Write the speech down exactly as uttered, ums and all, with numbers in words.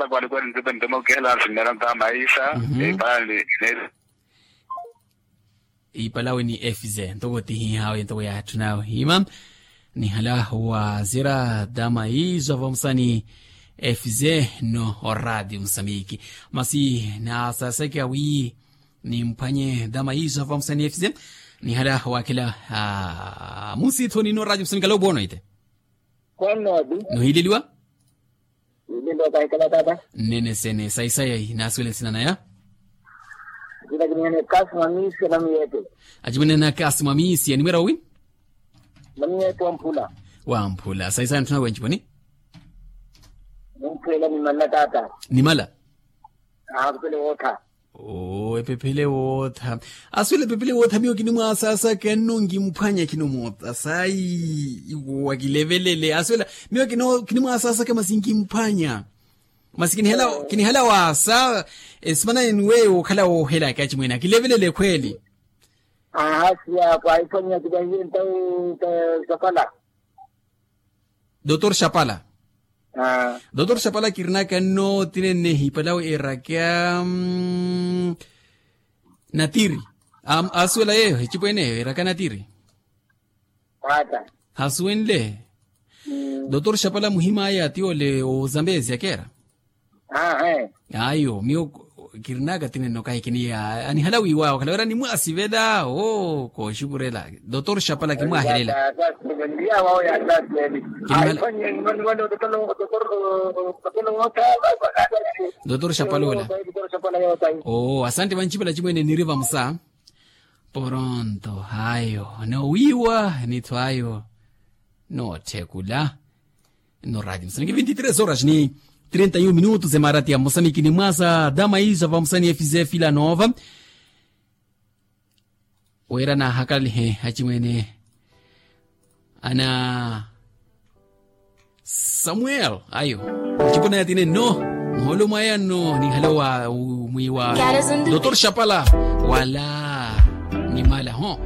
Kwalikwali ntipe ntoma okihela nsinnera ntaha maisa. Ipala ni. Ipalawe ni efize ntoko tihihawe ntoko yaatthuna ohiima. Nihala wazira dama izo avamusani efize no oradi musamiki. Masi nasasekya wi nimphwanye dama izo avamusani efize. Nihala wakhela. Musithoni no oradi musamiki alo bwono ite. Kwanno ati. Nuhileliwa. Nilelo kahikala tata. Nnene sene saisai nasuwele nsina naya. Jina kinihene kasi mwamisi na miyete. Ajimwene na kasi mwamisi animwera owi. Na miyete wamphula. Wamphula saisai anthuna wenji poni. Mumphwela nimala tata. Nimala. Aa kupele wotha. Oo epephele wootha. Aswela epephele wootha miyo kinimwasaasaka nno nkimphwanya khinomoota sayi. Iwo wakilevelele aswela. Miyo kinimwasaasaka masi nkimphwanya. Masi kinihela waasa. Esimana eni weyo okhala woohelaka acimwene akilevelele ekhweeli. Aha siya kwaiphwanya kivahiye ntawu. Sapala. Dotor xapala. Dotor xapala kirinaka nno tinennehi palawe erakya. Natiri. Asuwela yeyo ecipweneyo erakya natiri. Hasuwenle. Dotor xapala muhim'aya ti ole ozambezi akeera. Ayo miyo kirinaka tinenno kahi kiniya. Anihala wiiwa okhala wira nimwasivela oo kooxukurela. Dotor xapala kimwahelela. Dotor xapala ola. Oo asante vancipela cimwene niri vamusa. Poronto ayo noowiiwa nithu ayo. Nootthekula. No radio musaniki vinti tres horas ni trinta y un minutos emarati ya mosamiki ni mwasa dama izo avamusani efize fila nova. Wira naahakalihe acimwene ana samuel ayo. Ocipo naya tine nno. Muholo mwaya nno ninhale wa mwiwa dotor xapala wala. Nimala ho.